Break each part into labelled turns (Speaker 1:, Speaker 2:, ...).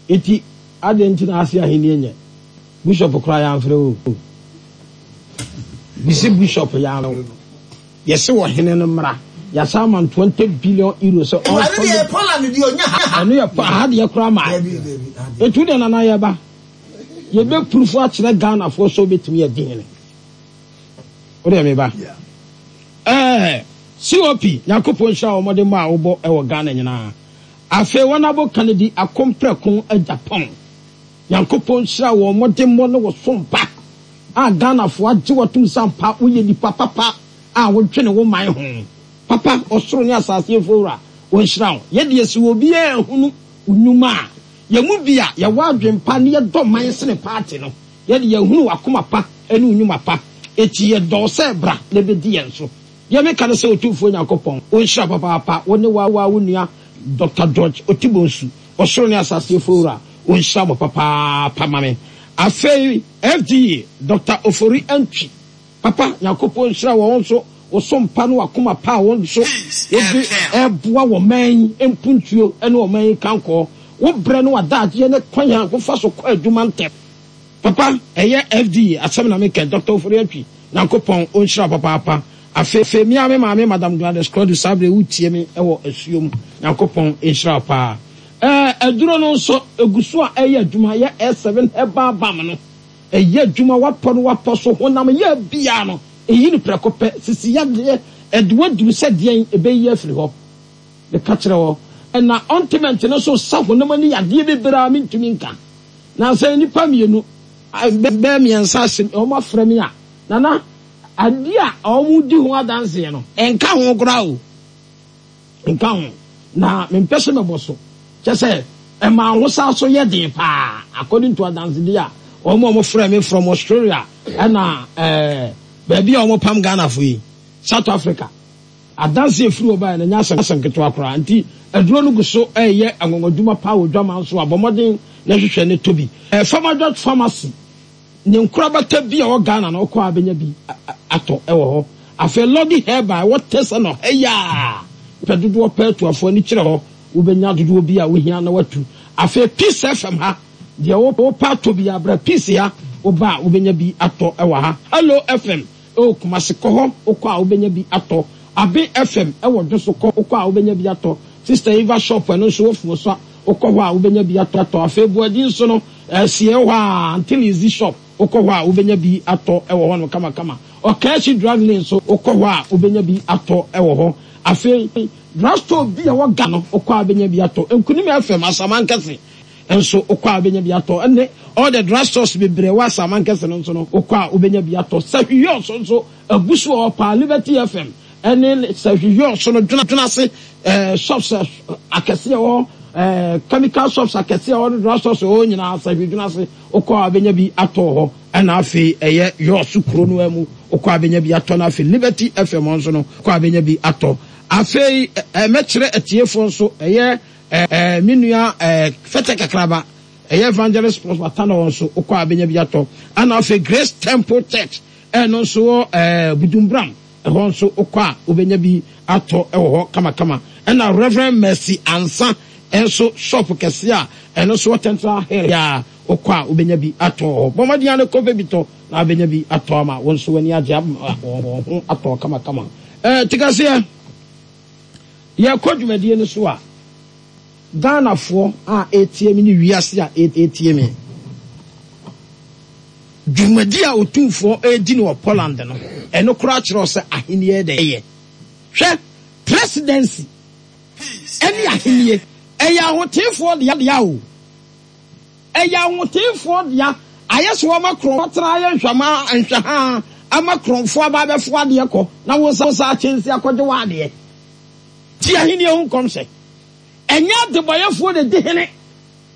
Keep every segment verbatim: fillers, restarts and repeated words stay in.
Speaker 1: Enti adɛn nti na ase ahenni nyɛ? Bishop koraa yɛamfrɛ wo o. Bisi bishop yɛamfrɛ wo. Yɛse ɔhene no mmra. Yɛasan ama no twenty billion euro sɛ
Speaker 2: Ɛno
Speaker 1: ɔmfa
Speaker 2: deɛ Poland deɛ ɔnya ha.
Speaker 1: Ɛno yɛ aha deɛ koraa maa.
Speaker 2: Dabi dabi ha deɛ.
Speaker 1: Enti wo deɛ Nana yɛba. Yɛbɛ proof akyerɛ Ghanafoɔ sɛ wobɛtumi adi hene. Wo deɛ meba. Ɛɛ C O P, Nyankopɔn nhyira wo mmɔdemmɔ a wobɔ wɔ Ghana nyinaa. Afei wɔn abo Kennedy Akompreko Agyapong. Nyankopɔn nhyira wo mmɔdemmɔ ne wo som pa a Ghanafoɔ agye wo atom sɛ ampa woyɛ nipa papa a wodwene wo man ho. Papa, ɔsoro ne asase yɛmfo wura, ɔnhyira wo. Yɛdeɛ sɛ obiara nhunu wo nnwuma a, yɛn mu bi a yɛwɔ adwempa ne yɛdɔ man sene party no, yɛde yɛhunu w'akoma pa ne wo nnwuma pa. Enti yɛdɔ wo sɛ bra na bɛdi yɛn so. Deɛ meka ne sɛ Otumfoɔ Nyankopɔn ɔnhyira papaapa wo ne wo wo nua Doctor George Otibonsu, ɔsoro ne asase yɛfo wura, ɔnhyira mo papaapa ma me. Afei F D A Doctor Ofori Antwi, papa, Nyankopɔn nhyira wɔ wo nso wo som pa ne w'akoma pa a wo nso wode ɛboa wɔ man yi mpuntuo ne ɔman yi kankɔɔ. Wo brɛ ne w'adagyeɛ ne kwan a wofa so kɔ adwuma ntɛm. Papa, ɛyɛ F D A asɛm na meka. Doctor Ofori Antwi, Nyankopɔn ɔnhyira papaapa. Afei mia me maame Madam Gladys Claudio, saa berɛ wotie me ɛwɔ asuom, Nyankopɔn nhyira paa. Ɛɛ aduro no nso egu so a ɛyɛ adwuma, yɛ S seven herbal balm no, ɛyɛ adwuma. Wapɔ no wapɔ so honam yɛ bia no, ɛyi no prɛko pɛ. Sisi yadeɛ ɛde waduru sɛ deɛn, ɛbɛyi afiri hɔ. Meka kyerɛ wɔ ɛna ointment no so sa honam ani yadeɛ bebree a mentumi nka. Na sɛ nnipa mmienu bɛɛ mmiɛnsa ase wɔn afrɛ me a, Nana, adeɛ a wɔn di ho adanseɛ no ɛnka ho koraa o, nka ho na mempɛ sɛ mɛbɔ so kyɛ sɛ ɛma ahosa so yɛ den paa according to adansedeɛ a wɔn a wɔfrɛ me from Australia ɛna ɛɛ baabi a wɔn pam Ghana fo yi, South Africa. Adanse efiri wɔ baa yɛn nyɛ asɛm asɛm ketewa koraa. Nti aduro no gu so ɛyɛ anwanwadwuma paa wɔ dwama nso. Abɔ mmɔden na hwehwɛ ne tobi ɛɛ Pharmadrug Pharmacy ne nkorabata bi a ɛwɔ Ghana na ɔkɔ a bɛnya bi atɔ ɛwɔ hɔ. Afei Lɔdi Herbal ɛwɔ tesa no ɛyaa pɛ dodoɔ pɛ atuafoɔ ani kyerɛ hɔ, wobɛnya dodoɔ bi a wohia na watu. Afei Peace F M ha deɛ, wopɛ atɔ bi abrɛ Peace ha, woba a wobɛnya bi atɔ ɛwɔ ha. Hello F M ɛwɔ Kumase, kɔ hɔ, wokɔ a wobɛnya bi atɔ. Abe F M ɛwɔ Dwoso, kɔ, wokɔ a wobɛnya bi atɔ. Sister Eva shop, ɛno nso wofuo so a, wokɔ hɔ a wobɛnya bi atɔ atɔ Afei Buadi nso no ɛsie hɔ a, Until Easy shop, wokɔ hɔ a wobɛnya bi atɔ ɛwɔ hɔ no kamakama. Ɔkaashi Drug Lane nso, wokɔ hɔ a wobɛnya bi atɔ ɛwɔ hɔ. Afei drugstore bi a ɛwɔ Ghana no, wokɔ a wobɛnya bi atɔ. Nkunim F M Asamankɛse nso, wokɔ a wobɛnya bi atɔ, ɛne all the drugstores bebree wɔ Asamankɛse no nso no, wokɔ a wobɛnya bi atɔ. Sahwiyɔ so nso agu so wɔ hɔ paa. Liberty F M ɛne Sahwiyɔ so no dwena dwena ase ɛɛ shops akɛseɛ wɔ ɛɛ chemical shops akɛseɛ wɔ no, drugstores wɔ nyinaa Sahwi dwena ase, wokɔ a wobɛnya bi atɔ hɔ. Ɛna afei ɛyɛ Yɔɔso kuro no mu, wokɔ a wobɛnya bi atɔ no. Afei Liberty F M nso no, wokɔ a wobɛnya bi atɔ. Afei ɛɛ mɛkyerɛ atiefoɔ nso, ɛyɛ ɛɛ me nua ɛɛ Fɛtɛ Kakraba, ɛyɛ Evangelist Prosper Tano nso, wokɔ a wobɛnya bi atɔ. Ɛna afei Grace Temple Church, ɛno nso wɔ ɛɛ Budumbram, ɛhɔ nso wokɔ a wobɛnya bi atɔ ɛwɔ hɔ kamakama. Ɛna Reverend Mercy Ansa ɛnso shop kɛse a ɛno nso wɔ Central Hill a, wokɔ a wobɛnya bi atɔ hɔ. Bɔmmɔden ano kɔpɛ bi tɔ na wobɛnya bi atɔ ama wɔn nso w'ani agye ama wɔn ho atɔ kamakama. ɛɛ tikaseɛ yɛkɔ dwumadie no so a, Ghanafoɔ a ɛretie me ne wiase a ɛretie me, dwumadi a Otumfoɔ ɛredi no wɔ Poland no, ɛno koraa kyerɛ sɛ ahenni dɛ ɛyɛ. Hwɛ, presidency ɛne ahenni ɛyɛ ahoteefoɔ dea dea o, ɛyɛ ahoteefoɔ dea. Ayɛ sɛ wɔma korɔn tena ayɛ nhwɛma nhwɛha ama korɔnfoɔ aba abɛfo adeɛ kɔ na wo nsa nsa akyɛnsi akɔgye wɔ adeɛ ti. Ahenni ho nkɔmhyɛ, ɛnyɛ adebɔyɛfoɔ na di hene,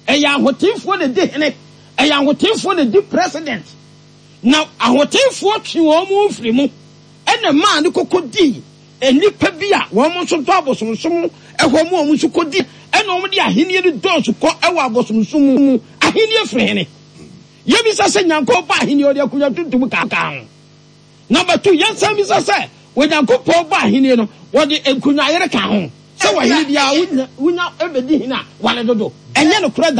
Speaker 1: ɛyɛ ahoteefoɔ na di hene, ɛyɛ ahoteefoɔ na di president. Na ahoteefoɔ twe wɔn mu firi mu ɛna maa ne koko di nnipa bi a wɔn nso dɔ abosomsom ɛhɔ mu, wɔn nso kɔ di, ɛna wɔn de ahenni no dɔɔso kɔ ɛwɔ abosomsom mu. Ahenni firi hene? Yɛbisa sɛ Nyankopɔn ba ahenni, ɔde akonnwa tuntum kaakaa ho. Number two, yɛnsan bisa sɛ Onyankopɔn ba ahenni no, wɔde nkonnwa yere ka ho sɛ wɔhene biara wonya wonya ɛbɛdi hene a wale dodo? Ɛnyɛ nokorɛ da.